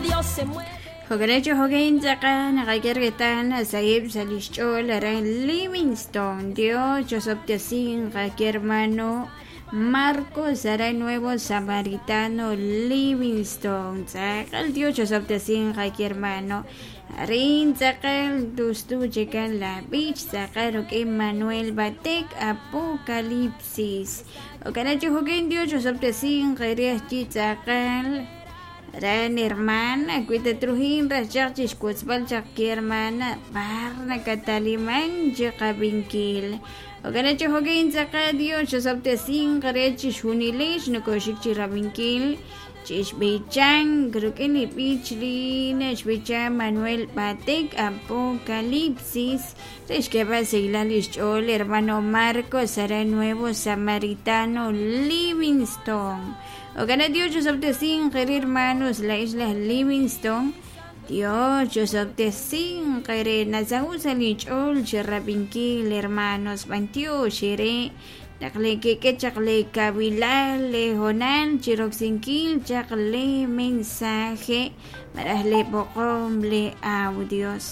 Dios se mueve. Jo'kan chi jo'kan tz'aqal naqak'e reetal saheb' sa' lix ch'ool aran Livingston. Dios chosob'tesinq hermano Marcos aran Nuevo Samaritano Livingston. Tz'aqal Dios chosob'tesinq hermano. Arin tz'aqal tustu chikan la b'ich tz'aqal ruk'in Manuel Batek Apocalipsis. Jo'kan chi jo'kan Dios chosob'tesinq reh chi tz'aqal Ran hermana, cuida trujin rachaq chixkutzb'al chaq ki hermana barna kataliman chiqabinkil. Jo'kan chi jo'kan tz'aqal Dios chosob'tesinq re chixjunilix nokoxik chirabinkil chixb'ichan ruk'in li b'ich li naxb'icha Manuel Batek Apocalipsis re xk'eeb'al sahilal lix ch'ool hermano Marcos aran Nuevo Samaritano Livingston. Jo'kan Dios chosob'tesinq re hermanos la isla Livingston. Dios chosob'tesinq re nasahu sa' li ch'ool chirabinkil hermanos b'antiox re naq le kik'e chaq le kabilal le hoonal chiroksinkil chaq le mensaje malaj le b'oqom le audios.